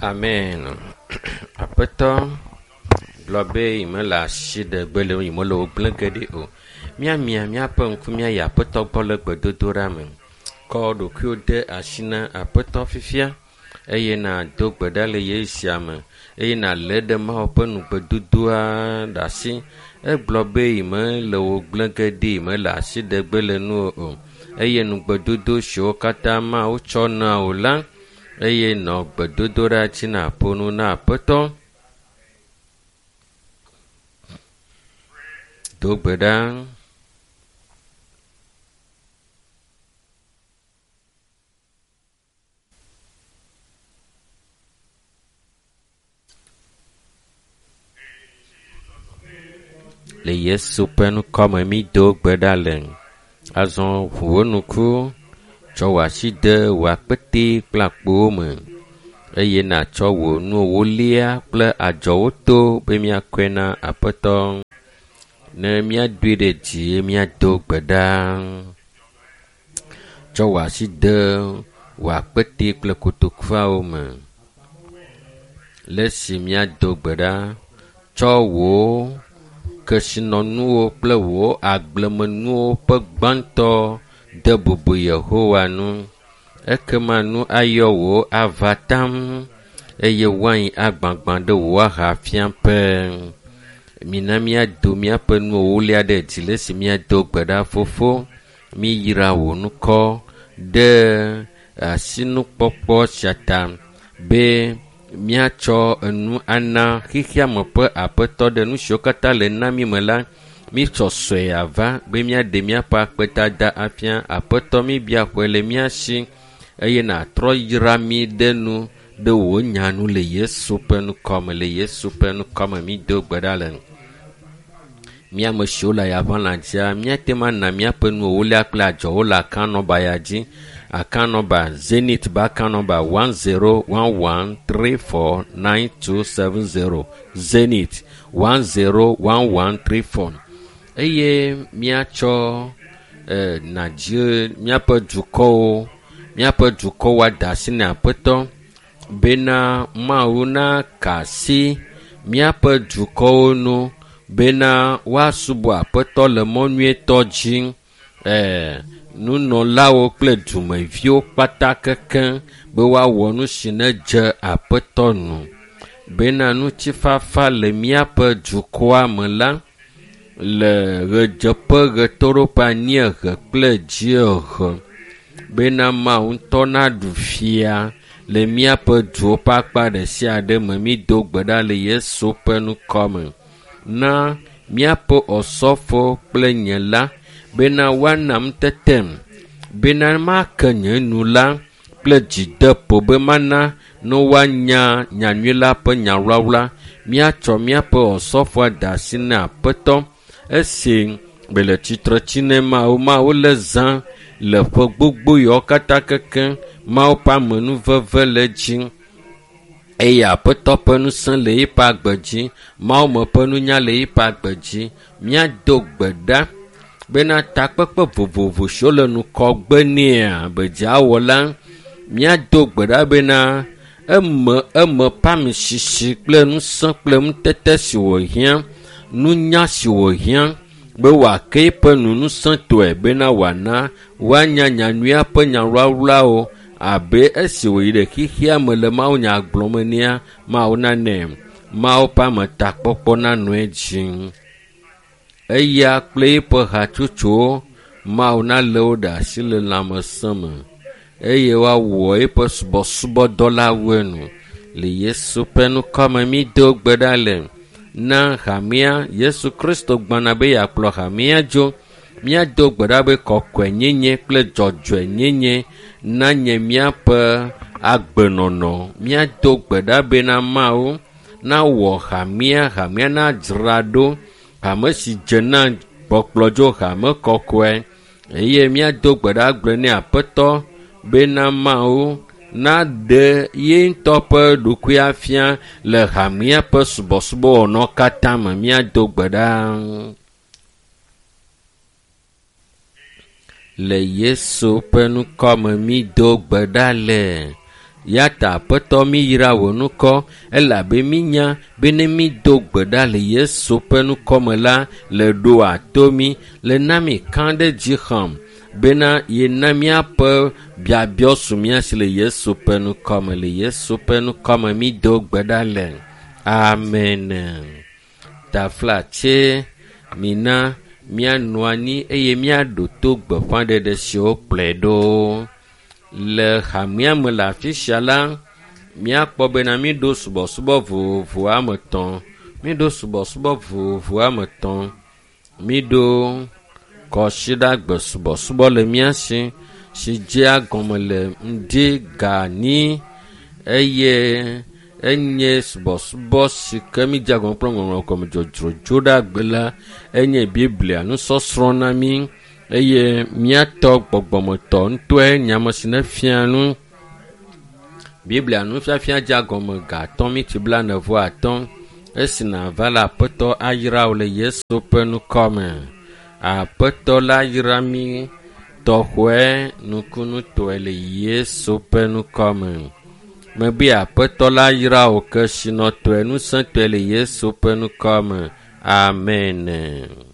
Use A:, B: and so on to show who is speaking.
A: Amen. Aƒetɔ gblɔ be yi mele asi ɖe gbe le yi mele wo gblẽ ge ɖi o. Míamia míaƒe ŋku míayi Aƒetɔ gbɔ le gbedodoɖa me. Kɔ ɖokuiwo de asi na Aƒetɔ fifia eye nàdo gbe ɖa le ɣeyiɣi sia me eye nàlé ɖe Mawu ƒe nugbedodoa ɖe asi. Egblɔ be yi mele wo gblẽ ge ɖi yi mele asi ɖe gbe le nuwò o eye nugbedodo siwo katã Mawu tsɔ na wò la eye nɔ gbedodoɖa dzi nàƒo nu na Aƒetɔ. Do gbe ɖa. Le Yesu ƒe ŋkɔme mído gbe ɖa le. Azɔ ʋu wò ŋku, tsɔ wò asi de wò akpete kple akpowo me eye nàtsɔ wò nu ewolia kple adzɔwo to be míakɔe na Aƒetɔ. Ne míadoe ɖe dzi eye míado gbe ɖa. Tsɔ wò asi de wò akpete kple kotokuawo me. Le esi míado gbe ɖa, tsɔ wò kesinɔnuwo kple wò agblemenuwo ƒe gbãtɔ de bubu Yehowa ŋu. Ekema nu ayɔ wò ava taŋ eye wain agbagbã ɖe wò ahafiaƒe. Mina míado míaƒe nu ewolia ɖe dzi le esi míado gbe ɖa fofo. Míyra wò ŋkɔ ɖe asinukpɔkpɔ sia ta be míatsɔ enu ana xexeame ƒe aƒetɔ ɖe nu siwo katã le na mí me la. Mítsɔ sɔe ava be míaɖe míaƒe akpedada afia. Aƒetɔ míbia xɔe le mía si eye nàtrɔ yra mí ɖe nu ɖe wò nya nu le Yesu ƒe ŋkɔme le Yesu ƒe ŋkɔme mído gbe ɖa le. Mía ame siwo le ayaʋalã dzia, míate ŋu ana míaƒe nu ewolia kple adzɔwo le account nɔmba ya dzi. Account number Zenith be account number 1011349270 Zenith 101134 eye míatsɔ eh, Nigeria míaƒe dukɔwo míaƒe dukɔwo ada asi na Aƒetɔ bena Mawu naka asi míaƒe dukɔwo nu bena woasubɔ Aƒetɔ le mɔ nyuietɔ dzi. Eh, nunɔlawo kple dumeviwo kpata kekeŋ be woawɔ nu si nedze Aƒetɔ nu bena ŋutifafa le míaƒe dukɔa me la le ɣedzeƒe, ɣetoɖoƒe, anyiehe kple dziehe bena Mawu ŋutɔ naɖu fia le míaƒe duwo ƒe akpa ɖe sia ɖe me. Mído gbe ɖa le Yesu ƒe ŋkɔ me na míaƒe osɔfo kple nye la bena woana ŋutetem bena make nye nu la kple dzideƒo be mana ne woanya nyanyui la ƒe nyawlawla. Míatsɔ míaƒe osɔfoa da asi na Aƒetɔ esi bele tsitre tsi ne Mawu. Mawu le zã le ƒe gbogbo yawo katã kekeŋ. Mawu ƒe amenuveve le edzi eye Aƒetɔ ƒe ŋusẽ le eƒe agbe dzi. Mawu me ƒe nunya le eƒe agbe dzi. Míado gbe ɖa bena takpekpe vovovo siwo le ŋgɔgbe nɛa be dzawɔ la, míado gbe ɖa bena eme eme ƒe amisisi kple ŋusẽ kple ŋutete si wòhiã, nunya si wòhiã be wòake eƒe nu ŋusẽtɔe bena wòana woanya nyanyuia ƒe nyawlawlawo abe esi wòyi ɖe xexea me le mawunya gblɔm enea, Mawu nanɛ. Mawu ƒe ametakpɔkpɔ nanɔ edzi. Eya kple eƒe hatsotsowo, Mawu nalé wo ɖe asi le lãmesẽ me eye woawɔ eƒe subɔsubɔdɔ la wu enu. Le Yesu ƒe ŋkɔme mído gbe ɖa le na hamea. Yesu Kristo gbɔna be yeakplɔ hamea dzo. Míado gbe ɖa be kɔkɔenyenye kple dzɔdzɔenyenye nanye míaƒe agbenɔnɔ. Míado gbe ɖa bena Mawu nawɔ hamea, hamea nadzra ɖo hame si dze na kpɔkplɔdzo hame kɔkɔe eye míado gbe ɖa gblɔ nɛ Aƒetɔ bena Mawu naɖe ye ŋutɔ ƒe ɖokui afia le hamea ƒe subɔsubɔwɔnawo katã me. Míado gbe ɖa le Yesu ƒe ŋkɔ me mído gbe ɖa le. Ya ta Aƒetɔ míyra wò ŋkɔ elabe mínya be ne mído gbe ɖa le Yesu ƒe ŋkɔ me la, le ɖoa to mí, le na mí kã ɖe dzi xɔm bena yena míaƒe biabiɔ su mía si le Yesu ƒe ŋkɔ me. Le Yesu ƒe ŋkɔ me mído gbe ɖa le. Amen. Taflatse mina míanɔ anyi eye míaɖo to gbeƒãɖeɖe siwo kplɔe ɖo. Le hamea me le afi sia la, míakpɔ bena míɖo subɔsubɔ vovovo ame etɔ̃. Míɖo subɔsubɔ vovovo ame etɔ̃. Míɖo kɔsiɖagbe subɔsubɔ le mía si si dzea gɔme le ŋdi ga enyi eye enye subɔsubɔ si ke mídzea gɔme kple ŋɔŋlɔ gɔme dzodzro dzoɖagbe la enye Biblia nusɔsrɔ̃ na mí eye míatɔ gbɔgbɔmetɔ ŋutɔe nye ame si nefia nu. Biblia nufiafia dzea gɔme ga atɔ̃ miti blaene vɔ atɔ̃. Esi nàva la, Aƒetɔ ayra wò le Yesu ƒe ŋkɔ me. Aƒetɔ la yra mí tɔxɔe nukunutɔe le Yesu ƒe ŋkɔ me. Mebe Aƒetɔ la yra wò kesinɔtɔe, ŋusẽtɔe le Yesu ƒe ŋkɔ me. Amen.